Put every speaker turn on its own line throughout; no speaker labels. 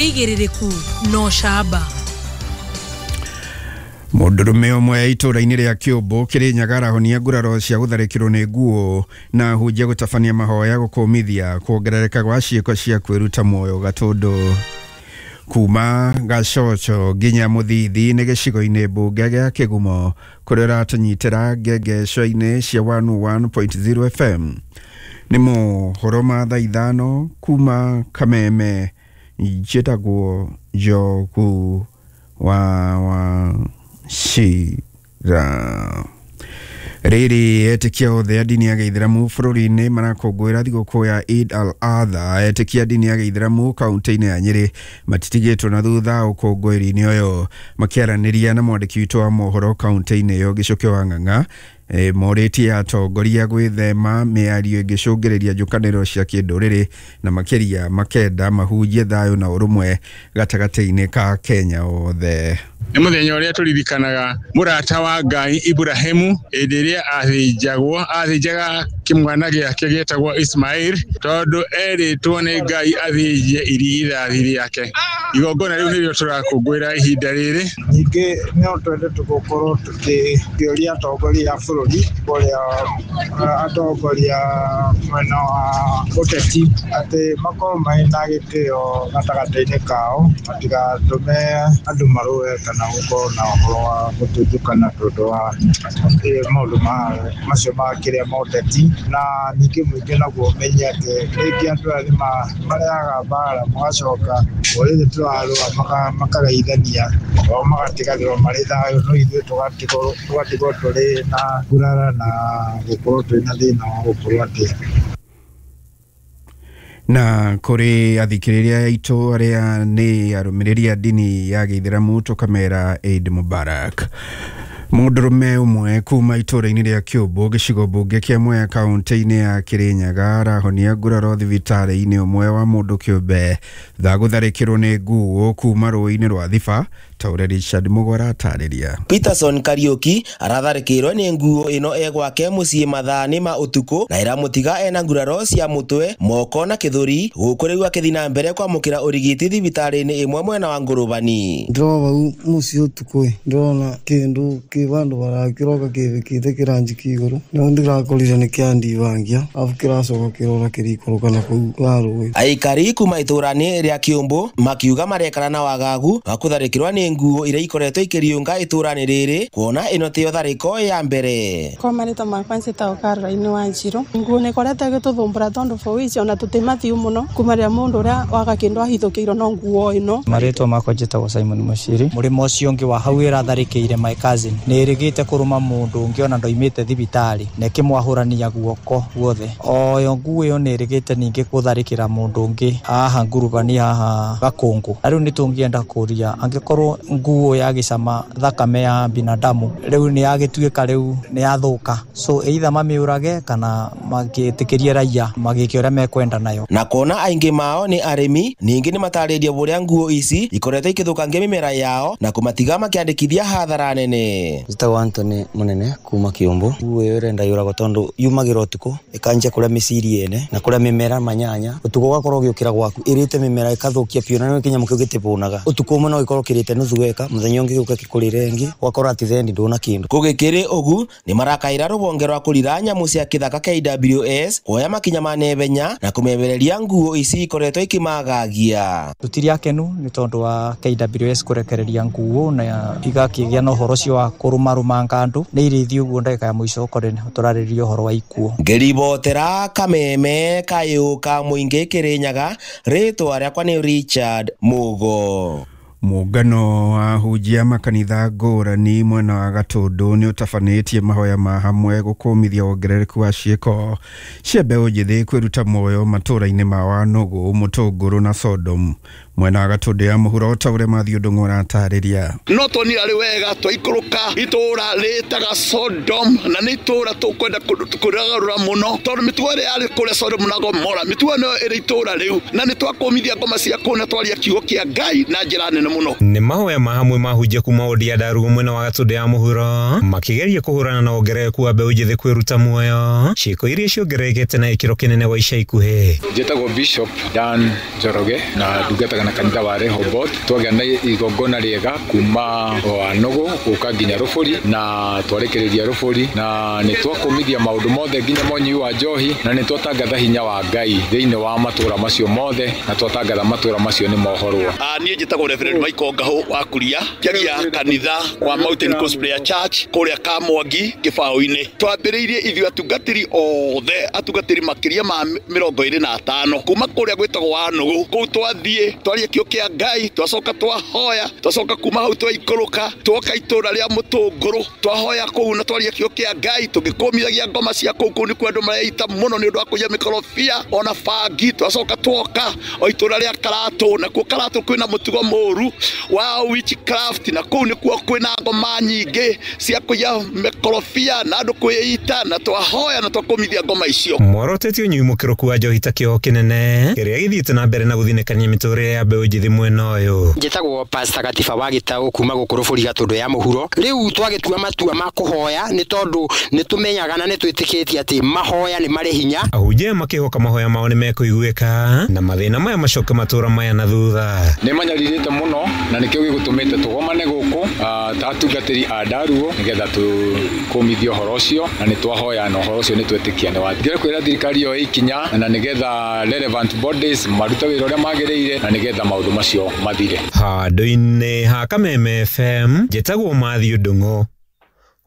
Igĩrĩrĩku no camba.
Mũndũrũme ũmwe itũũra-inĩ rĩa Kĩũmbũ Kĩrĩnyaga arahonia nguraro cia gũtharĩkĩrwo nĩ nguo na ahunjia gũtabania mahoya gũkũmithia kuongerereka gwa ciĩko cia kwĩruta muoyo Gatũndũ. Kuma Gacoco nginya Mũthithi nĩ gĩcigo-inĩ mbunge gĩa Kĩgumo kũrĩa ũratũnyitĩra ngengeco-inĩ cia 101.0 FM. Nĩ mohoro ma thaa 5 kuma Kameme. Njĩtagwo Njogu wa Wachira. Rĩrĩ etĩkia othe a ndini ya gĩithĩramu bũrũri-inĩ marakũngũĩra thigũkũ ya Eid al-Adha. Etĩkia a ndini ya gĩithĩramu kaunti-inĩ ya Nyĩrĩ matitigĩtwo na thutha ũkũngũĩri-inĩ ũyũ. Makĩaranĩria na mwandĩki witũ wa mohoro kaunti-inĩ ĩyo Gĩcũkĩ wa Ng'ang'a, morĩtie atongoria gwĩthema mĩario ĩngĩcũngĩrĩria njũkanĩrĩro cia kĩndũrĩrĩ na makĩria makenda mahunjie thayũ na ũrũmwe gatagatĩ-inĩ ka Kenya othe.
Nĩ mũthenya ũrĩa tũririkanaga mũrata wa Ngai Ibrahimu hĩndĩ ĩrĩa athĩnjagwo, athĩnjaga kĩmwana gĩake gĩetagwo Ismail tondũ erĩtwo nĩ Ngai athĩnje irigithathi rĩake. Igongona rĩu nĩrĩo tũrakũngũĩra ihinda rĩrĩ.
Ningĩ no twende tũgũkorwo tũkĩũria atongoria a bũrũri kũrĩa atongoria mwena wa ũteti atĩ makorwo marĩ na gĩtĩo gatagatĩ-inĩ kao, matigatũme andũ marũe kana gũkorwo na ũhoro wa gũtuthũkana tondũ wa maũndũ macio ma kĩrĩa ma ũteti. Na ningĩ mũingĩ naguo ũmenye atĩ rĩngĩ andũ aya nĩ marehaga mbara magacoka o rĩrĩ tũrarũa makageithania o magatiganĩrwo marĩ thayũ, no ithuĩ tũgatigwo tũrĩ na ngurara na gũkorwo twĩ na thĩna wa gũkorwo atĩ.
Na kũrĩ athikĩrĩria aitũ arĩa nĩ arũmĩrĩri a ndini ya gĩithĩramu tũkamera Eid Mubarak. Mũndũrũme ũmwe kuma itũũra-inĩ rĩa Kĩũmbũ gĩcigo mbunge kĩa Mwea kaunti-inĩ ya Kĩrĩnyaga arahonia nguraro thibitarĩ-inĩ ũmwe wa mũndũ kĩũmbe thutha gũtharĩkĩrwo nĩ nguo kuma rũĩ-inĩ rwa Thiba ta ũrĩa Richard Mũgwara atarĩria.
Peterson Kariuki aratharĩkĩirwo nĩ nguo ĩno e gwake mũciĩ mathaa-inĩ ma ũtukũ na ĩramũtiga ena nguraro cia mũtwe, moko na gĩthũri gũkũ rĩu akĩthiĩ na mbere kwamũkĩra ũrigiti thibitarĩ-inĩ ĩmwe mwena wa Ngũrũbani.
Ndĩrona hau mũciĩ ũtukũ ndĩrona kĩndũ kĩ vandũ barakĩroka kĩbĩkĩte kĩranjiki igũrũ no ndĩrakorire nĩ kĩandibangia arabu kĩracoka kĩrora kĩrikũrũka na kũu wa rũĩ.
Aikari kuma itũũra-inĩ rĩa Kĩũmbũ makiuga marekara na wagagu wa kũtharĩkĩrwo nĩ nguo iria ikoretwo ikĩriũnga itũũra-inĩ rĩrĩ kuona ĩno tiyo tharĩko ya mbere.
Kwa marĩtwa makwa njĩtagwo Caroline Wanjiru. Nguo nĩ ĩkoretwo ĩgĩtũthumbũra tondũ bũrũri ici ona tũtimathiu mũno kuma rĩrĩa mũndũ ũrĩa waga kĩndũ ahithũkĩirwo no nguo ĩno.
Marĩtwa makwa njĩtagwo Simon Muciri. Mũrĩmo ũcio ũngĩ wa hau ĩratharĩkĩire my cousin nĩ ĩrĩgĩte kũrũma mũndũ ũngĩ ona ndoimĩte thibitarĩ na ĩkĩmwahũrania guoko guothe. Oyo nguo ĩyo nĩ ĩrĩgĩte ningĩ gũtharĩkĩra mũndũ ũngĩ haha Ngurubani haha Gakũngũ. Na rĩu nĩ tũngĩenda kũria angĩkorwo nguo yagĩcama thakame ya binadamu rĩu nĩ yagĩtuĩka rĩu nĩ yathũka, so either mamĩũrage kana magĩtĩkĩrie raia magĩke ũrĩa mekwenda nayo.
Na kuona aingĩ mao nĩ arĩmi ningĩ nĩ matarĩria ũrĩa nguo ici ikoretwo ikĩthũkangia mĩmera yao na kũmatiga makĩandĩkithia hathara nene.
Njĩtagwo Anthony Munene kuma Kĩũmbũ. Nguo ĩyo ĩrenda yũragwo tondũ yumagĩra ũtukũ ĩkanjia kũrĩa mĩciri ene na kũrĩa mĩmera manyanya ũtukũ ũgakorwo ũgĩũkĩra gwaku ĩrĩte mĩmera ĩkathũkia biũ na nĩ kĩnyamũ kĩu gĩtĩbũnaga. Ũtukũ ũmwe no gĩkorwo kĩrĩte nuthu weka mũthenya ũngĩ gĩũke gĩkũrĩre ĩngĩ ũgakora atĩ thendi ndũna kĩndũ.
Gũgĩkĩrĩ ũgu nĩ marakaĩra rũhonge rwa kũrira nyamũ cia kĩthaka KWS kuoya makinya ma naihenya na kũmebereria nguo ici ikoretwo ikĩmagagia.
Tũtirĩ akenu nĩ tondũ wa KWS kũrekereria nguo na igakĩgĩa na ũhoro ũcio wa kũrũmarũmanga andũ nĩ irĩthi ũguo ndagĩka ya mũico ũkore tũrarĩrĩria ũhoro wa ikuũ.
Ngĩribotera Kameme kayũ ka mũingĩ Kĩrĩnyaga, rĩtwa rĩakwa nĩ Richard Mugo.
Mũngano wa ahunjia makanitha ngũrani mwena wa Gatũndũ nĩ ũtabanĩtie mahoya ma hamwe gũkũmithia wongerereku wa ciĩko cia mbeũ njĩthĩ kwĩruta muoyo matũũra-inĩ ma Wanũgũ, Mũtũngũrũ na Sodom. Mwena wa Gatũndũ ya mũhuro ta ũrĩa Mathiũ Ndung'u aratarĩria.
No tuonire arĩ wega twaikũrũka itũũra rĩtaga Sodom na nĩ itũũra tũkwenda kũrĩgarũra mũno tondũ mĩtugo ĩrĩa yarĩ kũrĩa Sodom na Gomora mĩtugo ĩno ĩrĩ itũũra rĩu na nĩ twakũmithia ngoma cia kũu na twaria kiugo kĩa Ngai na njĩra nene mũno.
Nĩ mahoya ma hamwe mahunjia kuma wodi ya Ndarugu mwena wa Gatũndũ ya mũhuro makĩgeria kũhũrana na wongerereku wa mbeũ njĩthĩ kwĩruta muoyo ciĩko iria ciongererekete na gĩkĩro kĩnene gwa ica ikuhĩ.
Njĩtagwo Bishop Dan Njoroge na ndungataga
Na kanitha wa Rehoboth twagĩa na igongona rĩega kuma Wanugu gũka nginya Rũbũri na twarĩkĩrĩria Rũbũri na nĩ twakũmithia maũndũ mothe nginya monyui wa njohi na nĩ twatangatha hinya wa Ngai thĩinĩ wa matũra macio mothe na twatangatha matũra macio nĩ mohorwo.
Niĩ njĩtagwo Reverend Michael Ngahũ wa Kuria, njagia kanitha wa Mountain Coast Prayer Church kũrĩa Kamwangi Kĩbaũ-inĩ. Twambĩrĩirie ithuĩ atungatĩri othe, atungatĩri makĩria ma 25 kuma kũrĩa gwĩtagwo Wanugu. Kũu twathiĩ twaria kĩo kĩa Ngai, twacoka twahoya, twacoka kuma hau twaikũrũka twoka itũra rĩa Mũtũngũrũ, twahoya kũu na twaria kĩo kĩa Ngai tũgĩkũmithagia ngoma cia kũu. Kũu nĩkuo andũ mareita mũno nĩ ũndũ wa kũiya mĩkorobia ona bangi. Twacoka twoka o itũra rĩa Karatũ, nakuo Karatũ kwĩna mũtugo mũru wa witchcraft, na kũu nĩkuo kwĩna ngoma nyingĩ cia kũiya mĩkorobia na andũ kwĩita, na twahoya na twakũmithia ngoma icio.
Mworotete ũnyui mũkĩrũku wa njohi ta kĩoho kĩnene kĩrĩa gĩthiĩte na mbere na gũthinĩkania mĩtũrĩre ya mbeũ njĩthĩ mwena ũyũ.
Njĩtagwo Pastor Gatiba wa Gĩtaũ kuma gũkũ Rũbũri Gatũndũ ya Mũhuro. Rĩu twagĩtua matua ma kũhoya nĩ tondũ nĩ tũmenyaga na nĩ twĩtĩkĩtie atĩ mahoya nĩ marĩ hinya.
Ahunjia makĩhoka mahoya mao nĩ mekũiguĩka na mathĩna maya macoke matũra maya na thutha.
Nĩ manyarirĩte mũno na nĩkĩo gĩgũtũmĩte tũgomane gũkũ ta atungatĩri a Ndaruo nĩgetha tũkũmithie ũhoro ũcio na nĩ twahoya na ũhoro ũcio nĩ twĩtĩkia nĩ wa. Ndĩrenda kwĩra thirikari yoe ikinya na nĩgetha relevant bodies marute wĩra ũrĩa magĩrĩire na nĩgetha maũndũ macio mathire.
Handũ-inĩ ha Kameme FM njĩtagwo Matthew Ndung'u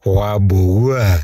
wa Mbugua.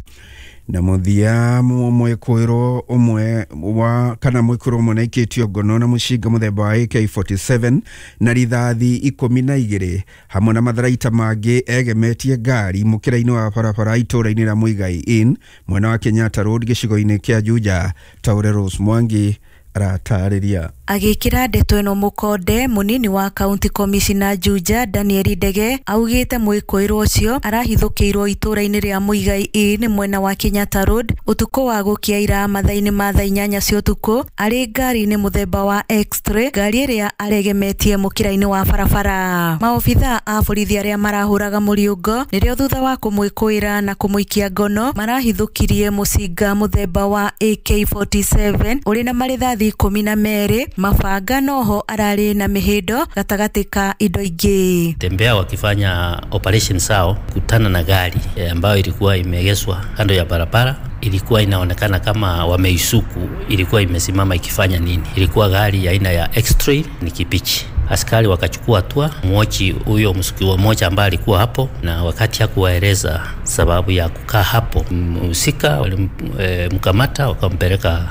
Na mũthia mwĩkũĩrwo ũmwe wa kana mwĩkũĩrwo ũmwe nĩaikĩtio ngono na mũcinga mũthemba wa AK47 na rithathi 12 hamwe na matharaita mangĩ egemetie ngari mũkĩra-inĩ wa barabara itũra-inĩ rĩa Muigai Inn mwena wa Kenyatta Road gĩcigo-inĩ kĩa Juja. Taure Rose Mwangi aratarĩria.
Agĩkĩra ndeto ĩno mũkonde, mũnini wa county commissioner Juja Daniel Ndege augĩte mwĩkũĩrwo ũcio arahithũkĩirwo itũra-inĩ rĩa Muigai Inn mwena wa Kenyatta Road ũtukũ wa gũkia ira mathaa-inĩ ma thaa 8 cia ũtukũ arĩ ngari-inĩ mũthemba wa X-ray, ngari ĩrĩa aregemetie mũkĩra-inĩ wa barabara. Maobithaa a borithi arĩa marahũraga mũriũngo nĩrĩo thutha wa kũmwĩkũĩra na kũmũikia ngono marahithũkirie mũcinga mũthemba wa AK47 ũrĩ na marĩthathi 12, mabanga noho ararĩ na mĩhĩndo gatagatĩ ka indo ingĩ.
Tembea wakifanya operation sao kutana na gari ambayo ilikuwa imeegeshwa kando ya barabara. Ilikuwa inaonekana kama wameisuku, ilikuwa imesimama ikifanya nini. Ilikuwa gari ya aina ya X-Trail, ni kipichi. Askari wakachukua hatua, mwochi huyo mshukiwa mmoja ambaye alikuwa hapo, na wakati hakuwaeleza sababu ya kukaa hapo, mhusika walimkamata wakampeleka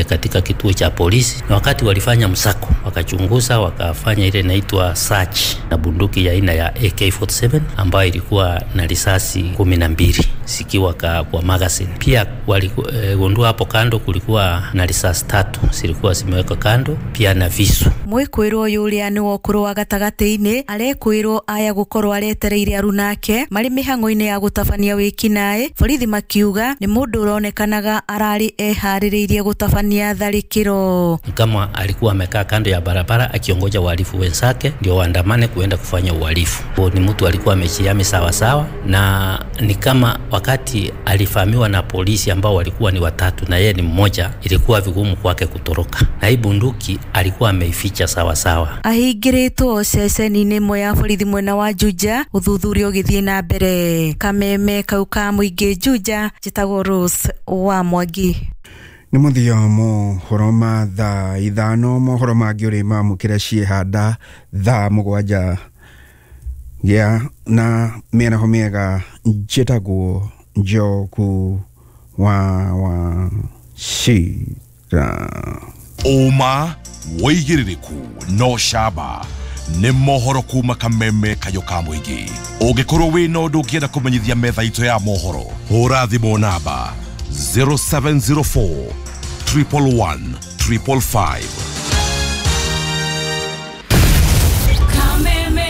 katika kituo cha polisi. Na wakati walifanya msako, wakachunguza, wakafanya ile inaitwa search na bunduki ya aina ya AK47 ambayo ilikuwa na risasi 12 zikiwa kwa magazine. Pia waligundua hapo kando kulikuwa na risasi 3 zilikuwa zimewekwa kando, pia na visu.
Mwĩkũĩrwo ũyũ ũrĩa nĩ wa ũkũrũ wa gatagatĩ-inĩ arekwĩrwo aya gũkorwo aretereire arunake marĩ mĩhang'o-inĩ ya gũtabania wĩkinaĩ. Borithi makiuga nĩ mũndũ ũronekanaga ararĩ eharĩrĩirie gũtabania tharĩkĩro.
Kama alikuwa amekaa kando ya barabara akiongoja wahalifu wenzake ndio waandamane kuenda kufanya uhalifu. Ni mtu alikuwa amejihami sawa sawa, na ni kama wakati alifahamiwa na polisi ambao walikuwa ni watatu na yeye ni mmoja, ilikuwa vigumu kwake kutoroka. Na hii bunduki alikuwa ameificha sawa sawa.
Ahingĩrĩtwo ceceni-inĩ ĩmwe ya borithi mwena wa Juja, ũthuthuria ũgĩthiĩ na mbere. Kameme kau ka mũingĩ Juja, njĩtagwo Rose wa Mwangi.
Nĩ mũthia mohoro ma thaa 5, mohoro mangĩ ũrĩ mamũkĩra ciĩhanda thaa 7 gĩa na mĩaraho mĩega. Njĩtagwo Njoku wa Wachira.
Ũma wĩigĩrĩrĩku no camba nĩ mohoro kuma Kameme kayo ka mũingĩ. Ũngĩkorwo wĩna ũndũ ũngĩenda kũmenyithia metha itũ ya mohoro, hũra thimũ namba 0704 111 555. Kameme.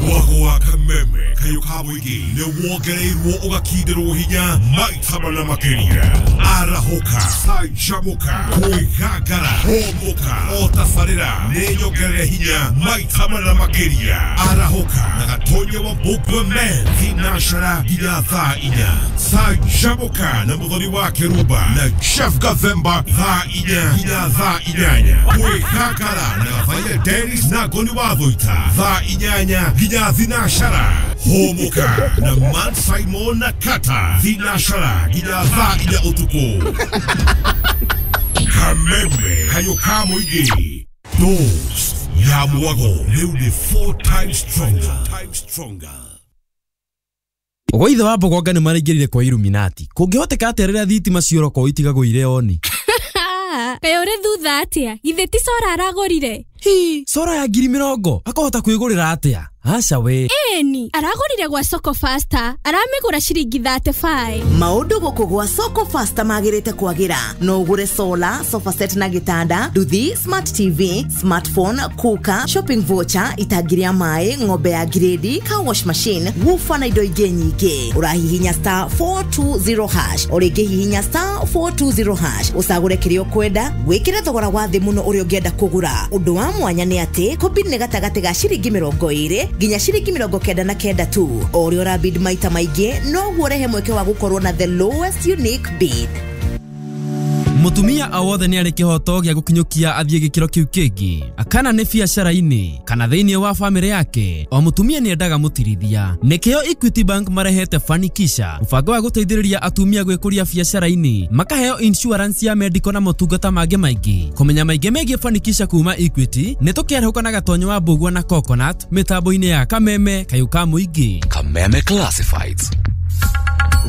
Mwago wa Kameme. kayũ ka mũingĩ nĩ wongereirwo ũgakindĩrwo hinya maita mana makĩria. Arahũka, canjamũka, kwĩgangara, hũmũka, o tabarĩra nĩ nyongerere hinya maita mana makĩria. Arahũka na Gatonya wa Mbũmbwe Men thinacara nginya thaa 4. Canjamũka na Mũthoni wa Kĩrumba na Jeff Gathemba thaa 4 nginya thaa 8. Kwĩgangara na Gathaia Dennis na Ngoni wa Thũita thaa 8 nginya thinacara. Hũmũka na Man Simon na Kata thinacara nginya thaa 4 ũtukũ. Kameme kayũ ka mũingĩ. Dose ya mwago rĩu nĩ 4 times stronger.
Gwa ithe wa Mbogonga nĩ maraingĩrire kwa Illuminati. Kũngĩhoteka atĩa rĩrĩa thitima cioroko itigagwo irĩ oni?
Kaĩ ũrĩ thutha atĩa? Githĩ ti cora aragũrire?
Hi, cora ya 20,000 akahota kwĩgũrĩra atĩa? Aca we.
Ĩni, aragũrire gwa Soko Faster, aramĩgũra ciringi 35.
Maũndũ gũkũ gwa Soko Faster magĩrĩte kwagĩra. No ũgũre solar, sofa set na gĩtanda, nduthi, smart TV, smartphone, cooker, shopping voucher, itangi rĩa maĩ, ng'ombe ya grade, car wash machine, woofer na indo ingĩ nyingĩ. Ũrahihinya star 420 hash, o rĩngĩ hihinya star 420 hash, ũcagũre kĩrĩa ũkwenda, wĩkĩre thogora wa thĩ mũno ũrĩa ũngĩenda kũgũra. Ũndũ wa mwanya nĩ atĩ kũbid nĩ gatagatĩ ga ciringi 20 nginya ciringi 99 tu. O ũrĩa ũrabid maita maingĩ noguo ũrehe mweke wa gũkorwo na the lowest unique bid.
Mutumia o wothe nĩ arĩ kĩhoto gĩa gũkinyũkia athiĩ gĩkĩro kĩu kĩngĩ, kana nĩ biacara-inĩ kana thĩinĩ wa bamĩrĩ yake. O mũtumia nĩ endaga mũtirithia. Nĩkĩo Equity Bank marehete Fanikisha, mũbango wa gũteithĩrĩria atumia gwĩkũria biacara-inĩ, makaheo insurance ya medical na motungata mangĩ maingĩ. Kũmenya maingĩ megiĩ Fanikisha kuma Equity nĩ tũkĩarahũka na Gatonyo wa Mbũgua na Coconut mĩtambo-inĩ ya Kameme kayũ ka mũingĩ.
Kameme Classifieds.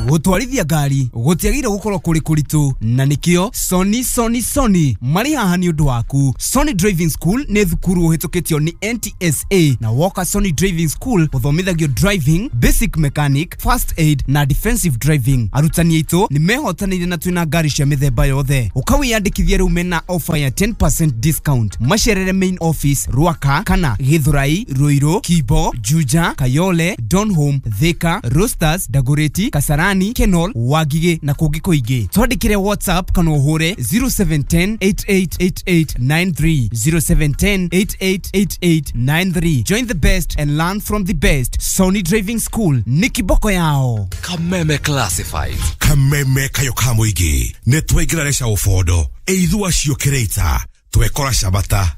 Gũtwarithia ngari gũtiagĩrĩire gũkorwo kũrĩ kũritũ, na nĩkĩo Sony Sony Sony marĩ haha nĩ ũndũ waku. Sony Driving School nĩ thukuru ũhĩtũkĩtio nĩ NTSA, na woka Sony Driving School ũthomithagio driving, basic mechanic, first aid na defensive driving. Arutani aitũ nĩ mehotanĩire na twĩna ngari cia mĩthemba yothe. Ũkawĩyandĩkithia rĩu mena offer ya 10% discount. Macerere main office Ruaka kana Githurai, Ruiru, Kibo, Juja, Kayole, Donholm, Thika, Roasters, Dagoretti, Kasarani, Kenol, Wagige na kũngĩ kũingĩ. Twandĩkĩre WhatsApp kana ũhũre 0710 888893, 0710 888893. Join the best and learn from the best. Sony Driving School nĩ kiboko yao.
Kameme Classifieds. Kameme kayũ ka mũingĩ nĩ twaingĩra reca ũbondo ĩithũ acio kĩrĩita twekora cabata.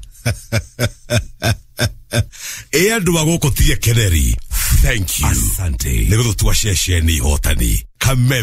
Ĩ andũ a gũkũ tie keneri. Thank you. Asante. Nĩ gũtũtua ceceni hotani. Kameme.